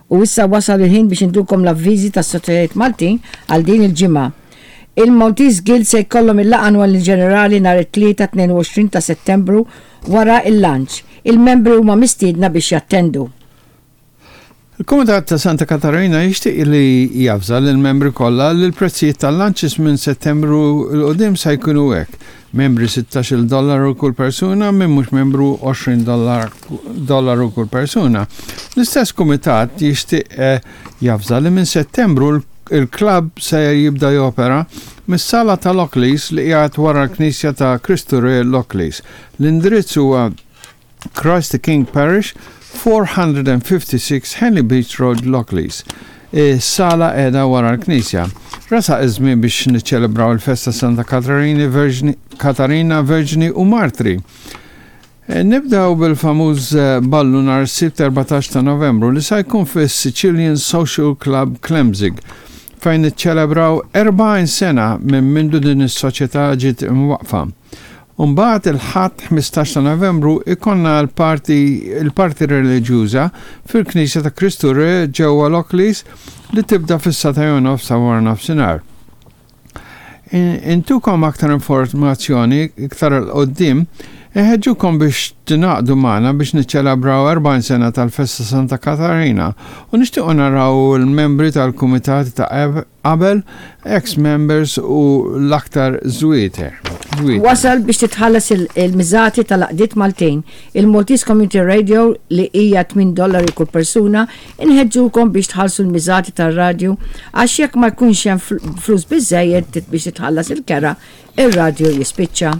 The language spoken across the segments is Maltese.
U issa wasal il-ħin biex intukom l-avviżi tas-Soċjetajiet Maltin għal din il-ġimgħa. Il-Maltese Guild se jkollhom il-laqgħa annwali ġenerali nhar it-Tlieta 22 ta' Settembru wara l-lunch. Il-membri huma mistiedna biex jattendu. Il-Kumitat ta' Santa Katarina jixtieq li javża lill-membri kollha li l-prezzijiet tal-lunches minn Settembru 'l quddiem se jkunu hekk, membri sittax-il dollaru kull persuna, min mhux membru 20 dollaru kull persuna. L-istess kumitat jixtieq javża li minn Settembru l-klabb se jibda jopera mis-sala ta' Lockleys li qiegħed wara l-Knisja ta' Kristu Re Lockleys. L-indirizz huwa Christ the King Parish, 456 Henley Beach Road, Lockleys. Is-sala qiegħda wara l-knisja. Resaq iż-żmien biex niċċelebraw il-festa Santa Katarini Verġni, Katarina Verġni u Martri. Eh, nibdew bil-famuż eh, ballu nhar is-Sibt 14 ta' Novembru li sa jkun fis-Sicilian Social Club Klemzig fejn niċċelebraw 40 sena minn mindu din is-soċjetà ġiet imwaqqfa. U mbagħad il-Ħadd 15 ta' Novembru jkollna l-parti il-parti reliġjuża fil-Knisja ta' Kristu Re ġewwa Lockleys li tibda fis-sagħtejn u nofs ta' wara nofsinhar. Intukom aktar informazzjoni iktar 'l quddiem, inħeġġukom biex tingħaqdu magħna biex niċċelebraw 40 sena tal-Festa Santa Katarina u nixtiequ naraw il-membri tal-kumitati ta' Qabel, ex members u l-aktar żwieter. Wasal biex titħallas il-miżati tal-għaqdiet Maltin. Il-Maltese Community Radio li hija tmien dollari kull persuna, inħeġġukom biex tħallsu l-miżati tar-radju għax jekk ma jkunx hemm flus biżżejjed biex titħallas il-kera, ir-radju jispiċċa.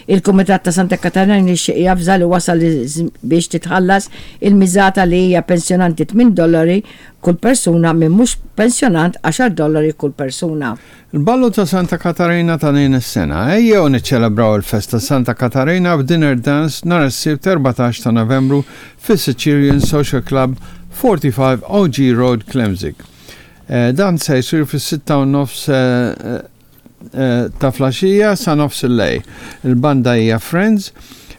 Il-Kumitat ta' Santa Katarina jixtieq javża li wasal biex titħallas il-miżata li hija pensjonanti tmien dollari kull persuna minn mhux pensjonant għaxar dollari kull persuna. Il-Ballu ta' Santa Katarina ta' din is-sena. Ejjew niċċelebraw il-festa Santa Katarina b'dinner dance nhar is-Sibt 14 ta' Novembru fis-Sicilian Social Club, 45 OG Road, Klemzig. Dan se jsir fis-sitta u nofs ta' flaxija sa nofs il-lejl. Il-banda hija Friends.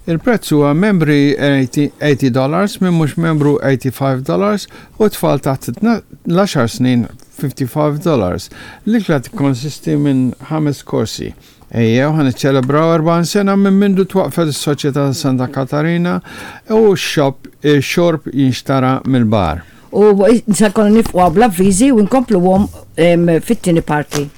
Il-prezz huwa membri 80 dollars, min mhux membru 85 dollars u tfal taħt l-għaxar snin 55 dollars. L-ikla tikkonsisti minn ħames korsi. Ejjew ħa niċċelebraw 40 sena minn mindu twaqqfet is-Soċjetà ta' Santa Katarina u x-xorb jinxtara mill-bar. U se nkunu nifqgħu bl-avviżi u nkompluhom fit-tieni parti.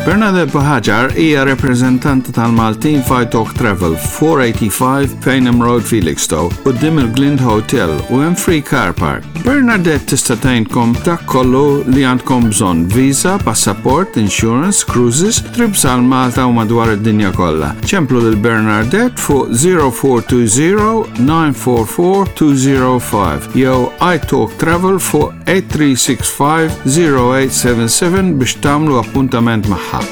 Bernadette Buhagiar hija rappreżentanta tal-Maltin f'Italk Travel, 485 Payneham Road, Felixstowe, quddiem il-Glind Hotel u hemm free car park. Bernadette tista' tgħinkom dak kollu li għandkom bżonn, visa, passaport, insurance, cruises, trips għal Malta u madwar id-dinja kollha. Ċemplu lil Bernadette fuq 0420 944 205 jew iTalk Travel fuq 8365 0877 biex tagħmlu appuntament magħha.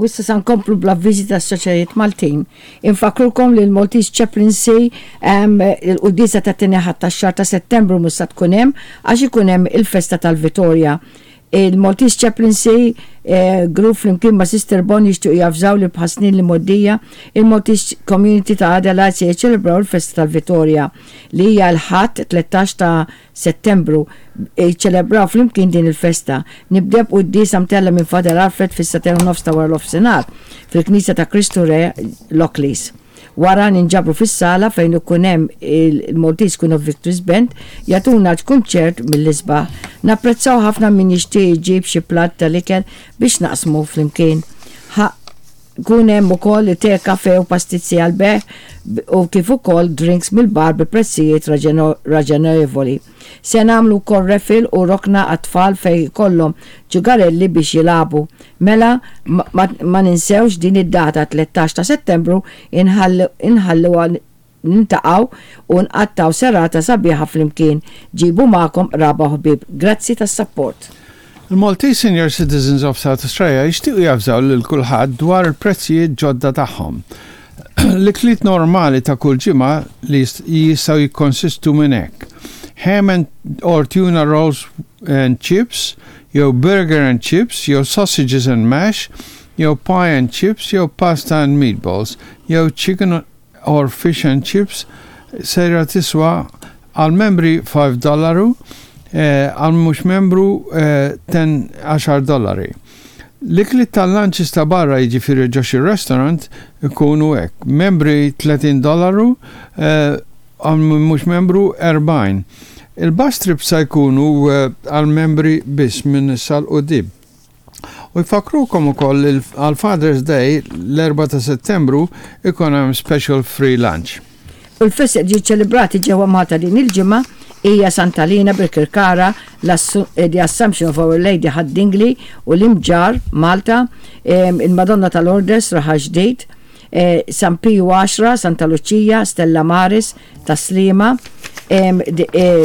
U issa sa nkomplu bl-avviżi tas-soċjetajiet Maltin. Infakkrukom li l-Maltese Chaplaincy il-quddiesa tat-tieni Ħadd tax-xahar ta' Settembru mhux sa tkun hemm għax ikun hemm il-festa tal-Vitorja. Il-Maltese Chaplaincy Group flimkien ma' Sister Bon jixtiequ javżaw li bħas-snin l-imgħoddija, il-Maltese Community ta' Adelaide se jiċċelebraw il-festa tal-Vitorja li hija l-Ħadd 13 ta' Settembru, jiċċelebraw flimkien din il-festa. Nibdew b'quddiesa mtellgħa minn Father Alfred fis-sagħtejn u nofs ta' waranofsinhar fil-Knisja ta' Kristu Re, Lockleys. Wara ninġabru fis-sala fejn ikun hemm il-Maltese Queen of Victories Band jagħtuna kunċert mill-isbaħ. Napprezzaw ħafna min jixtieq iġib xi platt tal-ikel biex naqsmu flimkien. Ħa jkun hemm ukoll te, kafè u pastizzi għall-bejgħ u kif ukoll drinks mill-bar bi prezzijiet raġonevoli. Se nagħmlu wkoll raffle u rokna għat-tfal fejn ikollhom ġugarelli biex jilagħbu. Mela ma ninsewx din id-data 13 ta' Settembru inħalluha niltaqgħu u nqattgħu serata sabiħa flimkien. Ġibu magħkom qraba u ħbieb. Grazzi tas-sapport. Il-Maltese Senior Citizens of South Australia jixtiequ javżaw lil kulħadd dwar il-prezzijiet ġodda tagħhom. L-ikliet normali ta' kull ġimgħa li jistgħu jikkonsistu minn hekk. Ham and or tuna rolls and chips, jew burger and chips, jew sausages and mash, jew pie and chips, jew pasta and meatballs, jew chicken or fish and chips sejra tiswa għal membri 5 dollaru, għal mhux membru 10 għaxar dollari. L-ikliet tal-lunches ta' barra jiġifieri ġo xi restaurant ikunu hekk, membri 30 dollaru, għal min mhux membru 40. Il-bus trips sa jkunu għal membri biss minn issa 'l quddiem. U jfakkrukom ukoll li għal Father's Day l-4 ta' Settembru ikun hemm special free lunch. U l-festi qed jiġu ċelebrati ġewwa Malta din il-ġimgħa hija Santa Lina, Birkirkara, The Assumption of Our Lady Ħad-Dingli u l-Imġarr, Malta, il-Madonna ta' Lourdes, Raħal Ġdid, San Piju Għaxra, Santa Luċija, Stella Maris, Tas-Sliema,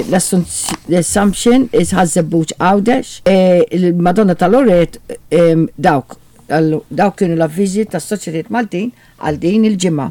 l-Assumption, Ħaż-Żebbuġ Għawdex, il-Madonna ta' Loret, dawk dawk kienu l-avviżi tas-Soċjetajiet Maltin għal din il-ġimgħa.